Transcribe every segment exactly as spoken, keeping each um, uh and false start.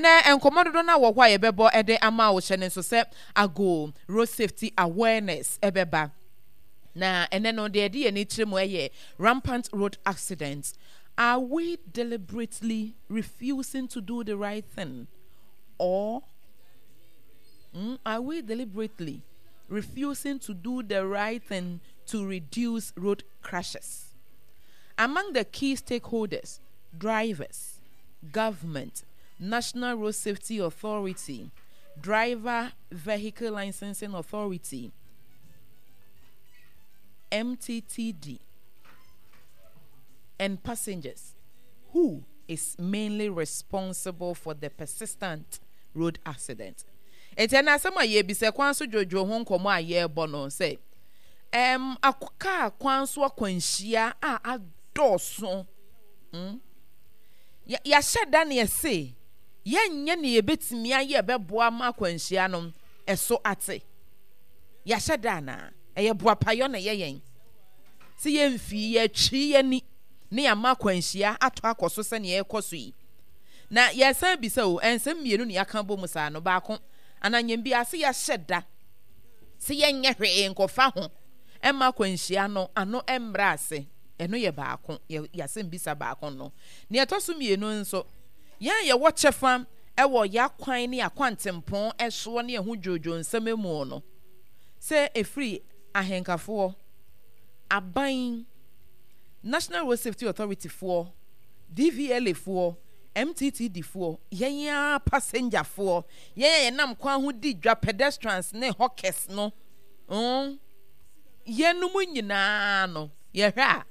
Ɛnɛ nkɔmmɔ dodo no a wɔ hɔ a yɛbɛbɔ ɛde ama wo, hyɛ ne nso sɛ ago road safety awareness ɛbɛba na ɛnɛ no deɛ ɛde yɛn ani kyerɛ mu ɛyɛ rampant road accidents. Are we deliberately refusing to do the right thing or mm, are we deliberately refusing to do the right thing to reduce road crashes? Among the key stakeholders, drivers, government, National Road Safety Authority, Driver Vehicle Licensing Authority, M T T D, and passengers, who is mainly responsible for the persistent road accident? Enti ɛna asɛm a yɛbisa, kwan so dwodwo ho nkɔmmɔ a yɛrebɔ no sɛ ɛm kaa kwan so akwanhyia a adɔɔso mm yɛahyɛ da ne yɛse yɛnyɛ ne yɛbɛtumi ayɛ bɛboa ma akwanhyia no ɛso ate. Yɛahyɛ da anaa ɛyɛ boapayɔ na ɛyɛ yɛn sɛ yɛmfii yɛatwi yɛni ne yɛama akwanhyia atɔ akɔ so sɛnea ɛrekɔ so yi? Na yɛsan bisa o, ɛnsɛm mmienu ne yɛaka bɔ mu saa no, baako ananyɛm bi ase, yɛahyɛ da sɛ yɛnyɛ hwee nkɔfa ho ɛma akwanhyia no ano mmra ase. Ɛno yɛ baako, yɛasɛm bisa baako no. Nea ɛtɔ so mmienu nso, yɛn a yɛwɔ kyɛfa ɛwɔ yɛakwan ne akwantempɔn ɛsoɔ ne ɛho dwodwo nsɛm mu no, sɛ ɛfiri ahenkafoɔ, aban, National Road Safety Authority foɔ, D V L A foɔ, M T T D foɔ, yɛn a passengerfoɔ, yɛn a yɛnam kwan ho di dwa, pedestrians ne hawkers no, mm, yɛnum nyinaa no, yɛhwɛ a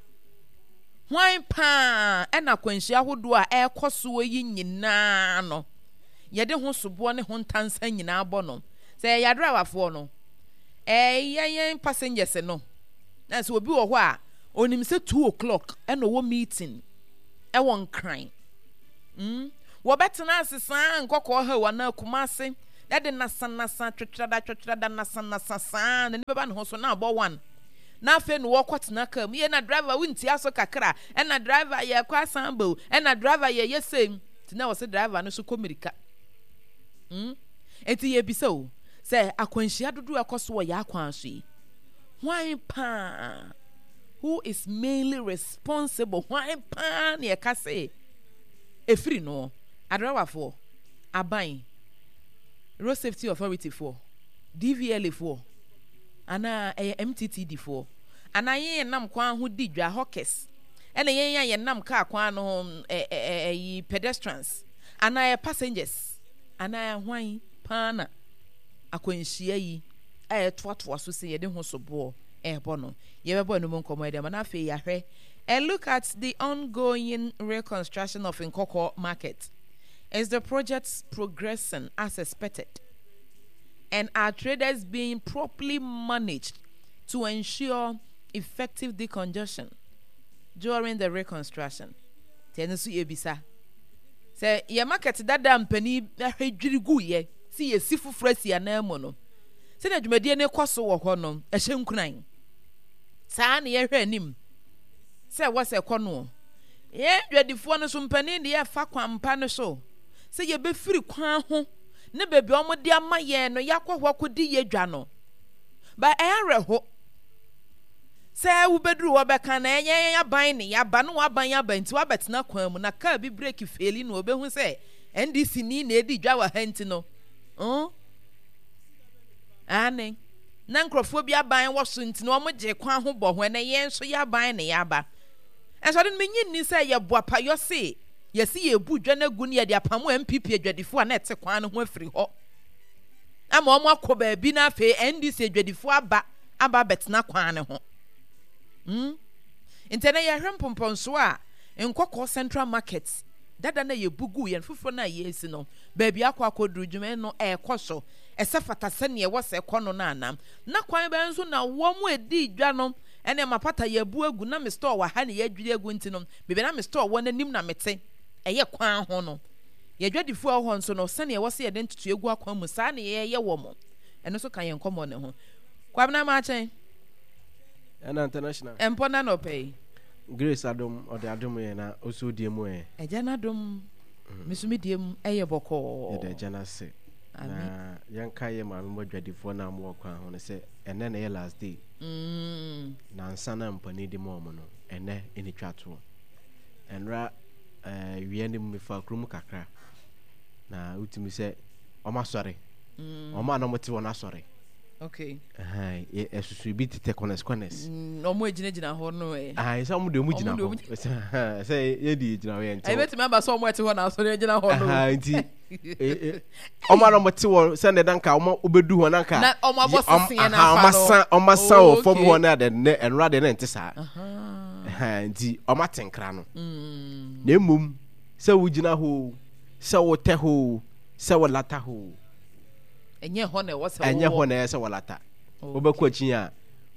hwan paa ɛna akwanhyia ahodoɔ a ɛrekɔ soɔ yi nyinaa no yɛde ho soboɔ ne ho ntansa nyinaa bɔ no? Sɛ ɛyɛ adrawafoɔ no, ɛyɛ yɛn passengers no, na sɛ obi wɔ hɔ a onim sɛ two o'clock ɛna ɔwɔ meeting ɛwɔ Nkran mm wɔbɛtena ase saa Nkɔkɔɔ ha anaa Kumase ɛde nasanasa twetwerada twetwerada nasanasa saa n'ani bɛba ne ho so na abɔ one, na afei na wɔkɔ tena kaa mu yɛ na driver wontia so kakra, ɛna driver yɛkɔ asan ba o, ɛna driver yɛyɛ sɛm nti na wɔsɛ driver no so kɔ mirika mm nti yɛbisa o sɛ akwanhyia dodoɔ ɛkɔ so wɔ yɛ akwan so yi, hwan paa, who is mainly responsible? Hwan paa na yɛka sɛ efiri no? Adrawafoɔ, aban, Road Safety Authority foɔ, D V L A foɔ, anaa ɛyɛ M T T D foɔ, anaa yɛn yɛn nam kwan ho di dwa, hawkers, ɛna yɛn a yɛnam kaa kwan no ho ɛ ɛ ɛyi pedestrians, anaa yɛ passengers, anaa hwan paa na akwanhyia yi a yɛtoatoa so sɛ yɛde ho soboɔ ɛrebɔ no? Yɛbɛbɔ ɛno mu nkɔmmɔ ɛde ama na afei yɛahwɛ a look at the ongoing reconstruction of Nkawkaw Market. Is the project progressing as expected? And are traders being properly managed to ensure effective decongestion during the reconstruction? Tɛno nso yɛbisa sɛ yɛ market dada mpanin ahwɛ dwiri gu yɛ si yɛsi foforɔ asi anan mu no, sɛdeɛ dwumadie no kɔ so wɔ hɔ no ɛhyɛ nkuran saa na yɛhwɛ anim sɛ ɛwɔ sɛ ɛkɔ no. Yɛn dwadifoɔ no so, mpanin de yɛfa kwan pa no so sɛ yɛbɛfiri kwan ho ne baabi a wɔde ama yɛn no yɛakɔ hɔ akɔdi yɛ dwa no ba. Ɛyɛ awerɛho sɛ wobɛduru hɔ bɛka na ɛyɛ yɛn aban ne yɛaba na waban aba nti wabɛtena kwan mu na kaa bi brake fail no, obɛhu sɛ N D C ni na ɛdi dwa wɔ ha nti no mm? Ane na nkurɔfoɔ bi aban wɔ so nti na wɔn gye kwan ho bɔ ho. Ɛnɛ yɛn nso yɛ aban ne yɛaba ɛnso ɔde no menyi nni sɛ yɛboa payɔ se yɛsi yɛbu dwa no agu ne yɛde apamo N P P adwadifoɔ a na ɛte kwan no ho afiri hɔ ama wɔn akɔ baabi na afei N D C adwadifoɔ aba aba abɛtena kwan no ho mm nti ɛnɛ yɛhwɛ mpɔmpɔnsoɔ a Nkɔkɔɔ Central Market dada na yɛbu gu yɛn foforɔ no a yɛresi no baabi akɔ akɔduru, dwuma no ɛrekɔ so ɛsɛ fata sɛnea ɛwɔ sɛ ɛkɔ no no anam na kwan bɛn nso na wɔn mu edi dwa no ɛna mapata yɛbu agu na me store wɔ ha na yɛadwiri agu nti no baabi na me store wɔ n'anim na mete ɛyɛ kwan ho no, yɛdwadifoɔ a ɛwɔ hɔ nso no, sɛnea ɛwɔ sɛ yɛde ntoto egu akwan mu saa na yɛyɛ wɔ mo. Ɛno nso ka yɛn nkɔmmɔ ne ho. Kwabena Maakyɛn. Ɛna international. Ɛmpɔ na nɔpɛ yi. Grace adom ɔde adom yɛn na ɔsɔ die mu ɛ. Ɛgya n'adom. Me nso me deɛ mu ɛyɛ bɔkɔɔ. Yɛda Agya no ase. Na yɛnka yɛ maame mu adwadifoɔ no a wɔwɔ kwan ho no sɛ ɛnɛ na ɛyɛ last day. Mm. Na nsa na mpanin de ma wɔn no, ɛnɛ ɛna twa toɔ. Ɛnora ɛɛ wia no mu mefa kurom kakra na wotumi sɛ wɔn asɔre. Mm. Wɔn a na wɔte wɔn asɔre. Okay. Ɛhɛn, ɛsusu bi tetɛ corners corners. Mm, wɔn egyinagyina hɔ no ɛ. Ayi sɛ wɔn de wɔn gyina hɔ. Sɛ yɛ de gyina hɔ yɛn ntɛm. Ɛbɛtumi aba sɛ wɔn ɛte hɔ na asɔre gyina hɔ no. Nti wɔn a na wɔte hɔ sɛ ne nanka wɔn bɛdu hɔ nanka. Na wɔn abɔ seseɛ n'afa no. Wɔn asan wɔn asan wɔ fam hɔ na de ne ɛnora de ne nte saa. Nti wɔn ate nkra no. Mm. Na emom sɛ wogyina hɔ sɛ wotɛ hɔ sɛ wolata hɔ. Ɛnyɛ hɔ na ɛwɔ sɛ ɛnyɛ hɔ na ɛyɛ sɛ wɔlata. Wobɛkɔ akyi a,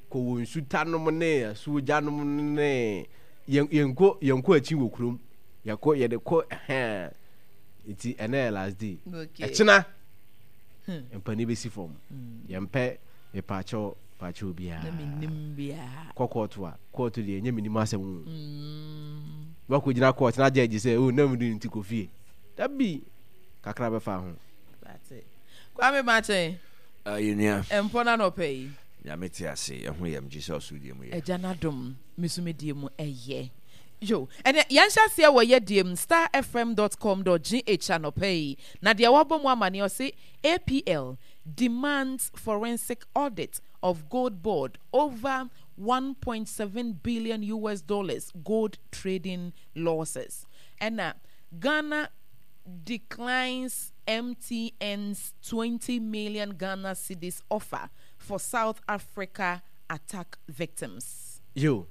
kɔ wɔ nsuta nom ne asuogya nom ne yɛnkɔ yɛnkɔ akyi wɔ kurom. Yɛkɔ yɛde kɔ ɛhɛn. Nti ɛnɛ yɛ last day. Ɛkyena hmm. mpanin bɛsi fam. Hmm. Yɛmpɛ mepaakyɛw paakyɛw biara. Na menim biara. Kɔ kɔɔto a kɔɔto deɛ ɛnyɛ menim asɛm o. Hmm. Wakɔgyina kɔɔto na gyɛgye sɛ o na mede nti kɔ fie. Dabi kakra bɛfa ho. Kwame Martin. Uh, yɛnua. Mpɔ no anɔpa yi. Nyame te ase, ɛho yɛm Jesus deɛ mu yɛ. Agya n'adom, me so me deɛ mu ɛyɛ. Yo, ɛnɛ yɛnhyɛ aseɛ wɔ yɛ deɛ mu starfm dot com dot gh anɔpa yi. Na deɛ wabɔ mu amaneɛ ɔse A P L demands forensic audit of gold board over one point seven billion U S dollars gold trading losses. Ɛna Ghana declines M T N's twenty million Ghana cedis offer for South Africa attack victims. Yo,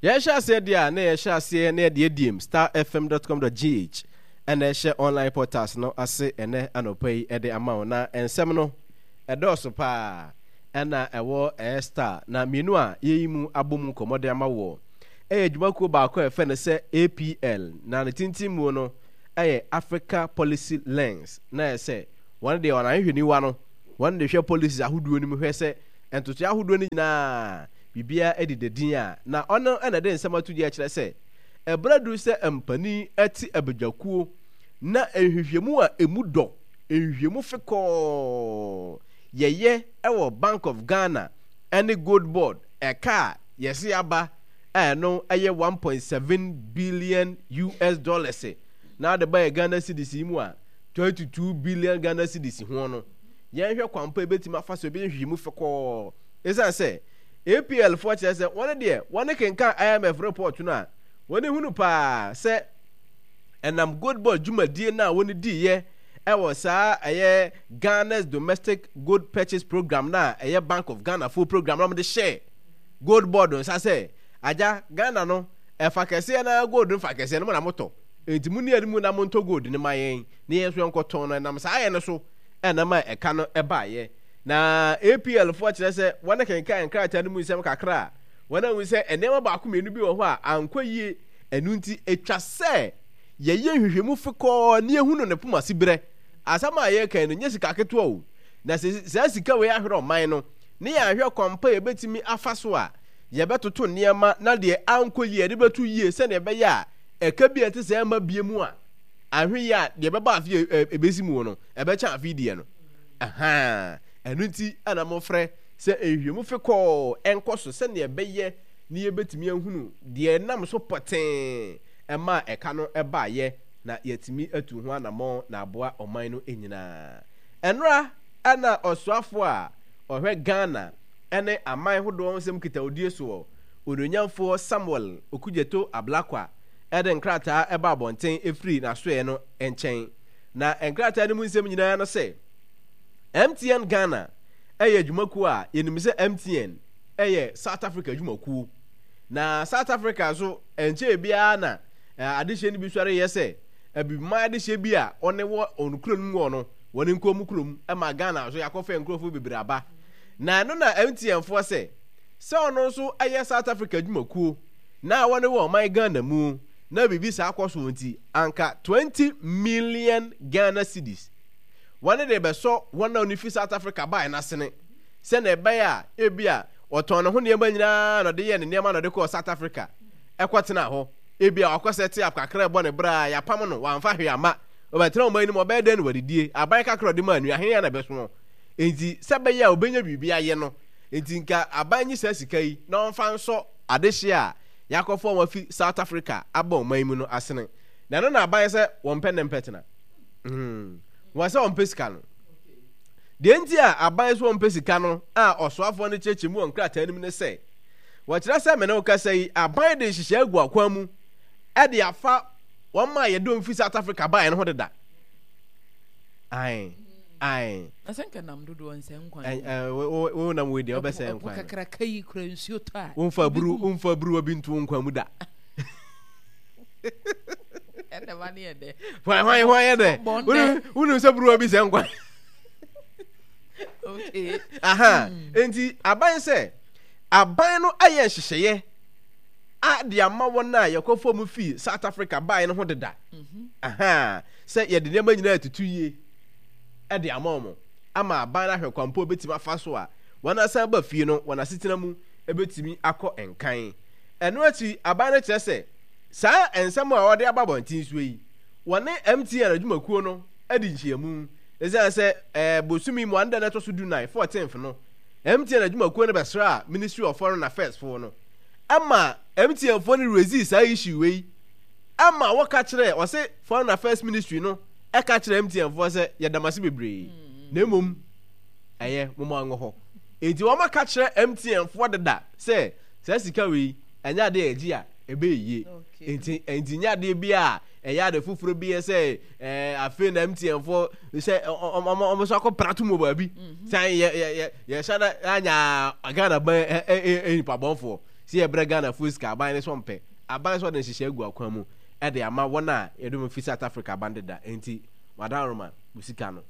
yɛhyɛ aseɛ deɛ a na yɛhyɛ aseɛ na yɛde adiem starfm dot com dot G H ɛna ɛhyɛ online portals no ase ɛnɛ anɔpa yi ɛde ama wo. Na nsɛm no ɛdɔɔso paa ɛna ɛwɔ ɛyɛ Star na mmienu a yɛyi mu abɔ mu nkɔmmɔ de ama wɔ ɛyɛ adwumakuo baako a ɛfɛ no sɛ A P L, na ne tenten mu no ɛyɛ Africa Policy Lens, na ɛyɛ sɛ wɔn deɛ wɔn ahwehwɛniwa no wɔn de hwɛ policies ahodoɔ no mu hwɛ sɛ ntotoe ahodoɔ no nyinaa biribiara deda din a, na ɔno ɛna de nsɛm ato gya kyerɛ sɛ ɛberɛ duru sɛ mpanin te abadwakuo na nhwehwɛmu a emu dɔ, nhwehwɛmu fekɔɔ yɛyɛ ɛwɔ Bank of Ghana ɛne Gold Board ɛka a yɛse aba a ɛno ɛyɛ one point seven billion U S dollars, na ade ba yɛ Ghana cedis yi mu a twenty-two billion Ghana cedis ho no, yɛnhwɛ kwan pa ebɛtumi afa so ebɛyɛ nhwehwɛmu fekɔɔ, ɛsiane sɛ A P L foɔ kyerɛ sɛ wɔn deɛ wɔn kenkan I M F report no a wɔn hunu paa sɛ ɛnam Gold Board dwumadie no a wɔn diiɛ ɛwɔ saa ɛyɛ Ghana's Domestic Gold Purchase Program na ɛyɛ Bank of Ghana foɔ program na wɔde hyɛ Gold Board nsa sɛ agya Ghana no ɛfa kɛseɛ na gold no fa kɛseɛ no mo na motɔ, nti mo ni anim na montɔ gold no ma yɛn na yɛn nso yɛnkɔtɔn no. Ɛnam saa yɛ no so ɛnam a ɛka no ɛbaayɛ. Na A P L foɔ kyerɛ sɛ wɔn kenkan nkrataa no mu nsɛm kakra a wɔn ahu sɛ nneɛma baako mmienu bi wɔ hɔ a ankɔ yie, ɛno nti atwa sɛ yɛyɛ nhwehwɛmu fekɔɔ ne ehunu ne poma si berɛ. Asɛm a yɛreka no nyɛ sika ketewa o, na sɛ saa sika wei ahwerɛ ɔman no ne yɛahwɛ kwan pa yɛbɛtumi afa so a yɛbɛtoto nneɛma na deɛ ankɔ yie yɛde bɛto yie sɛdeɛ ɛbɛyɛ a ɛka bi a ɛte sɛ ɛma bie mu a ahwe yie a deɛ ɛbɛba afe ɛbɛsi mu no ɛbɛkyɛn afe deɛ no. Ahaa, ɛno nti ɛna mofrɛ sɛ nhwehwɛmu fekɔɔ ɛnkɔ so sɛdeɛ ɛbɛyɛ ne yɛbɛtumi ahunu deɛ ɛnam so pɔtee ɛma ɛka no ɛbaayɛ na yɛatumi atu ho anammɔn na aboa ɔman no nyinaa. Ɛnora ɛna ɔsoafoɔ a ɔhwɛ Ghana ɛne aman hodoɔ nsɛm nkitahodie soɔ, Onuonyamfoɔ Samuel Okudzeto Ablakwa, ɛde nkrataa ɛba abɔnten ɛfiri n'asoɛeɛ no nkyɛn. Na nkrataa no mu nsɛm nyinaa no sɛ M T N Ghana ɛyɛ adwumakuo a yɛnim sɛ M T N ɛyɛ South Africa adwumakuo, na South Africa nso nkyɛn biara na adehyɛ no bi sɔre yɛ sɛ abibiman adehyɛ bi a ɔne wɔ ɔno kuro no mu wɔ no wɔne nkurom mu kurom ma Ghana nso yɛakɔfɛ nkurɔfoɔ bebree aba. Na ɛno na M T N foɔ sɛ sɛ ɔno nso ɛyɛ South Africa adwumakuo na wɔne wɔ ɔman Ghana mu na biribi saa kɔ so nti anka twenty million Ghana cedis wɔne de bɛsɔ wɔn a wɔn fi South Africa baa n'asene sɛnea ɛbɛyɛ a ebi a ɔtɔn ne ho nneɛma nyinaa na ɔde yɛ ne nneɛma na ɔde kɔɔ South Africa ɛkɔtena hɔ, ebi a wakɔ set up kakra ɛbɔ ne bra a yɛapam no wamfa hwee ama Ɔbɛtena ɔman no mu, ɔbɛyɛ dɛn na wadidie? Aban kakra a ɔde maa no yi, ahe na ɛbɛso? Enti sɛ ɛbɛyɛ a ɔbɛnya biribi ayɛ no nti, nka aban nyi saa sika yi na ɔmfa nsɔ adehyeɛ a yɛakɔfa wɔn afi South Africa aba ɔman yi mu no asene. Na ɛno na aban sɛ wɔmpɛ nnɛ mpɛ tena. Hmm. Wɔn sɛ wɔmpɛ sika no. Deɛ nti a aban sɛ wɔmpɛ sika no a ɔsoafoɔ no kyerɛkyerɛ mu wɔ nkrataa no mu ne sɛ, wɔkyerɛ sɛ me ne wo kasa yi, aban de nhyehyɛe agu akwan mu de afa wɔn a yɛde wɔn fi South Africa baeɛ no ho deda. Ae, ae. Na sɛ nka nam dodoɔ nsɛ nkwan. Ɛ ɛ wo wo nam wei deɛ wobɛsɛ nkwan. Ɛpo kakraka yi kura nsuo tɔ a. Womfa aburu womfa aburuwa bi nto wo nkwan mu da. Ɛna ma ne yɛ dɛ. Hwan hwan hwan yɛ dɛ. Wonim sɛ buruwa bi sɛ nkwan. Okay. Aha. Enti aban sɛ aban no ayɛ nhyehyɛeɛ a de ama wɔn a yɛkɔfa mu fii South Africa baeɛ no ho deda. Mhm. Aha. Sɛ yɛde nneɛma nyinaa atutu yie de ama wɔn ama aban no ahwɛ kwan po bɛtumi afa so a wɔn asan ba fie no wɔn asetena mu bɛtumi akɔ nkan. Ɛno akyi aban no kyerɛ sɛ saa nsɛm a wɔde aba abɔnten so yi, wɔne M T N adwumakuo no adi nhyiamu. Ɛsiane sɛ ɛɛ bosome mu anda no ɛtɔ so du nan, fourteenth no, M T N adwumakuo no bɛsraa Ministry of Foreign Affairs foɔ no ɛma M T N foɔ no raise saa issue wei ɛma wɔka kyerɛ ɔse Foreign Affairs Ministry no ɛka kyerɛ M T N foɔ sɛ yɛda mo ase bebree na mmom ɛyɛ mo mo angɔ hɔ. Enti wɔn aka kyerɛ M T N foɔ deda sɛ saa sika wei ɛnyɛ adeɛ a yɛgye a ɛbɛyɛ yie. Enti enti nyɛ adeɛ bi a ɛyɛ ade foforɔ bi yɛ sɛ ɛɛ afei na M T N foɔ sɛ ɔmo ɔmo nso akɔ prato mu wɔ baabi sɛ yɛ yɛ yɛ yɛhyɛ da anya Ghana ban ɛ ɛ ɛ nipa bɔnfoɔ sɛ yɛbrɛ Ghana foɔ sika. Aban ne so mpɛ aban so ɔde nhyehyɛ agu akwan mu ɛde ama wɔn a yɛde wɔn fi South Africa aban deda. Enti wadaroma wo sika no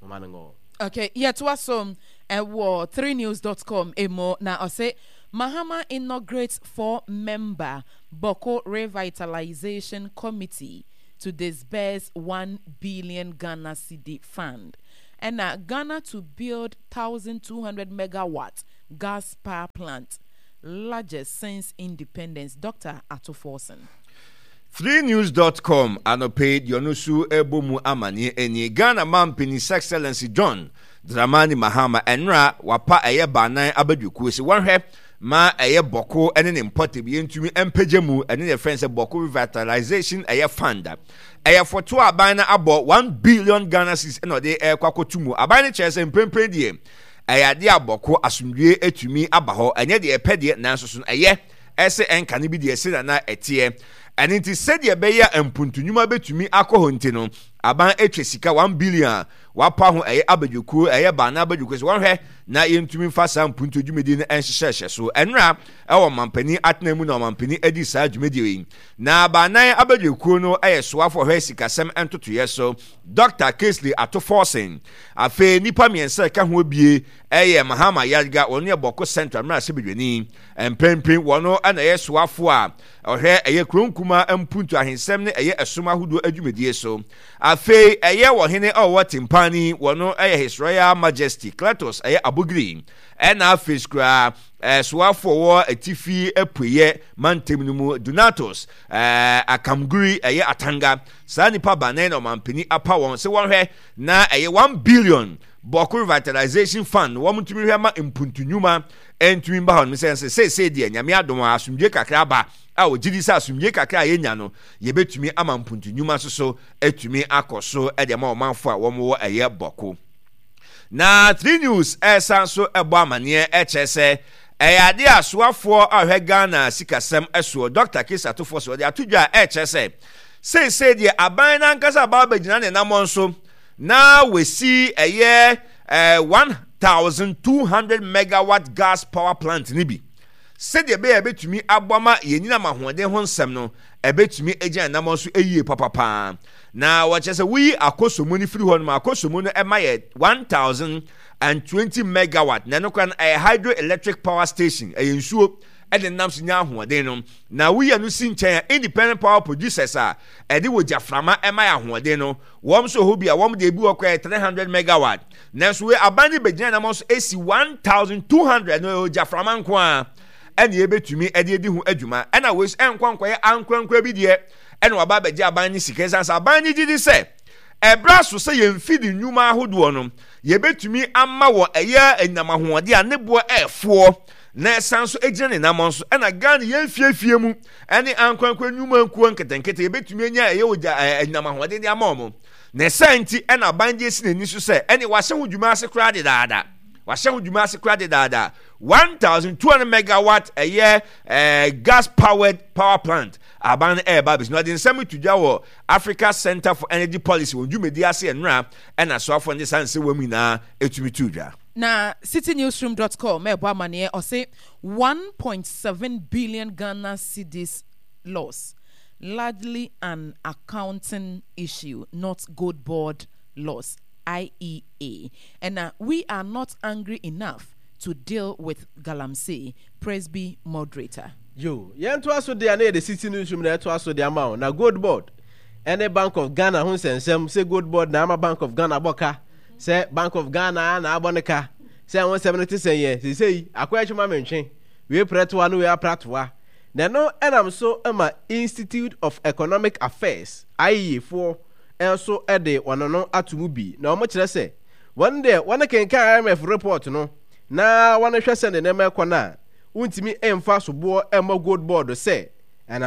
mama no ngɔ. Okay, yɛtoa so ɛwɔ three news dot com emu na ɔsɛ Mahama inaugurates four-member Bawku Revitalization Committee to disburse one billion Ghana cedi fund. And Ghana to build one thousand two hundred megawatt gas power plant, largest since independence. Doctor Ato Forson. three news dot com anɔpɛ deɛ ɔno nso ɛbɔ mu amanneɛ ani Ghana mampanin His Excellency John Dramani Mahama ɛnora wapa ɛyɛ baanan abadwakuo sɛ wɔhwɛ ma ɛyɛ Bawku ne ne mpɔtam yɛntumi mpagya mu. Ɛne ne fɛn sɛ Bawku Revitalization ɛyɛ fund, ɛyɛ foto aban no abɔ one billion Ghana cedis ɛna ɔde ɛrekɔ akɔto mu. Aban no kyerɛ sɛ mprempren deɛ ɛyɛ adeɛ a Bawku asomdwie atumi aba hɔ. Ɛnyɛ deɛ ɛpɛ deɛ, nanso so no ɛyɛ ɛsɛ ɛnka no bi deɛ ɛsɛ nana ɛteɛ. Ɛno nti sɛdeɛ ɛbɛyɛ a mpuntunwuma bɛtumi akɔ hɔ nti no aban atwa sika one billion a wapa ho ɛyɛ abadwakuo, ɛyɛ baana abadwakuo sɛ wɔhwɛ na yɛntumi mfa saa mpuntuo dwumadie no nhyehyɛhyɛ so. Ɛnora ɛwɔ ɔmampanin atena mu na ɔmampanin adi saa dwumadie yi na baanan abadwakuo no ɛyɛ soafo ɔhwɛ sikasɛm ntotoeɛ so Doctor Cassiel Ato Forson. Afei nipa mmiɛnsa ɛka ho bie ɛyɛ Mahama Ayariga, wɔn yɛ Bawku Central mmarahyɛbadwani mpempem, wɔn ɛna ɛyɛ soafo a ɔhwɛ ɛyɛ kuro nkuma mpuntu ahensɛm ne ɛyɛ ɛsom ahodoɔ adwumadie so. Afei ɛyɛ wɔhene a ɔwɔ Tempane, wɔn ɛyɛ His Royal Majesty Cletus ɛyɛ Abogiri. Ɛna afei koraa ɛsoafo wɔ atifi apueyɛ mantam no mu Donatus ɛɛ Akamguri ɛyɛ Atanga. Saa nipa banan na ɔmampanin apa wɔn sɛ wɔhwɛ na ɛyɛ one billion Bawku Revitalization Fund wɔn ntumi hwɛ ma mpuntu nnwuma ntumi mba hɔ no sɛ sɛ seesei deɛ Nyame adom a asomdwe kakra aba a wɔgye di sɛ asomdwe kakra a yɛnya no yɛbɛtumi ama mpuntu nnwuma nso so atumi akɔ so de ama ɔmanfo a wɔn wɔ ɛyɛ Bawku. Na Three News ɛsan so ɛbɔ amanneɛ ɛkyerɛ sɛ ɛyɛ adeɛ a soafoɔ a ɔhwɛ Ghana sikasɛm ɛsoɔ Doctor Cassiel Ato Forson ɔde ato dwa a ɛkyerɛ sɛ seesei deɛ aban n'ankasa aba abɛgyina ne namɔ nso na wɔsi ɛyɛ ɛɛ one thousand two hundred megawatt gas power plant ni bi sɛdeɛ ɛbɛyɛ ɛbɛtumi aboa ma yɛn nyinam ahoɔden ho nsɛm no ɛbɛtumi agyina nam nso yie papapaa. Na wɔkyerɛ sɛ woyi Akosombo no firi hɔ nom, Akosombo no ɛma yɛ one thousand and twenty megawatt na ɛno koraa no ɛyɛ hydroelectric power station, ɛyɛ nsuo ɛde nam so nya ahoɔden no. Na woyi no si nkyɛn a, independent power producers a ɛde wɔ gyaframa ɛma yɛ ahoɔden no, wɔn nso hɔ bi a wɔn de ebi wɔ koraa yɛ three hundred megawatt. Nanso wei aban no bɛgyina nam nso esi one thousand two hundred no, ɛwɔ gyaframa nko a ɛna yɛbɛtumi ɛde adi ho adwuma. Ɛna wei nso ɛnkɔ nkɔyɛ ankorankora bi deɛ ɛna waba abɛgye aban ne sika, ɛsiane sɛ aban no gye di sɛ Ɛberɛ aso sɛ yɛn mfidi nnwuma ahodoɔ no yɛbɛtumi ama wɔ ɛyɛ anyinam ahoɔden a ne boɔ ɛɛfoɔ na ɛsan so gyina ne nam so. Ɛna Ghana yɛn fiefie mu ɛne ankorankora nnwuma nkuo nketenkete yɛbɛtumi anya ɛyɛ ogya anyinam ahoɔden de ama wɔn. Na ɛsan nti ɛna aban de esi n'ani so sɛ ɛne wahyɛ ho dwuma ase koraa dedaada, wahyɛ ho dwuma ase koraa dedaada one thousand two hundred megawatt ɛyɛ ɛɛ gas powered power plant aban no ɛreba abɛsi. Na ɔde nsɛm to dwa wɔ Africa Center for Energy Policy wɔn dwumadi ase nnora, ɛna soafoɔ no de saa nsɛm wɔm nyinaa etumi to dwa. Na city newsroom dot com ɛbɔ amaneɛ, ɔse one point seven billion Ghana cedis loss, largely an accounting issue, not gold board loss, I E A. And uh, we are not angry enough to deal with Galamsey, Presby moderator. Yo, yɛntoa so deɛ na yɛde City Newsroom na ɛtoa so de ama wo. Na Gold Board ɛne Bank of Ghana ho nsɛnsɛm sɛ Gold Board na ama Bank of Ghana bɔ ka, sɛ Bank of Ghana na abɔ ne ka, sɛ ho nsɛm no te sɛ yɛ seesei akɔyɛ twema mentwe wei prɛtoa no wei apratoa. Na ɛno ɛnam so ma Institute of Economic Affairs I E A foɔ nso de wɔn ano ato mu bi, na wɔn kyerɛ sɛ wɔn deɛ wɔn kenkan I M F report no na wɔn hwɛ sɛ ne nneɛma ɛkɔ no a, wontumi mfa soboɔ mmɔ Gold Board sɛ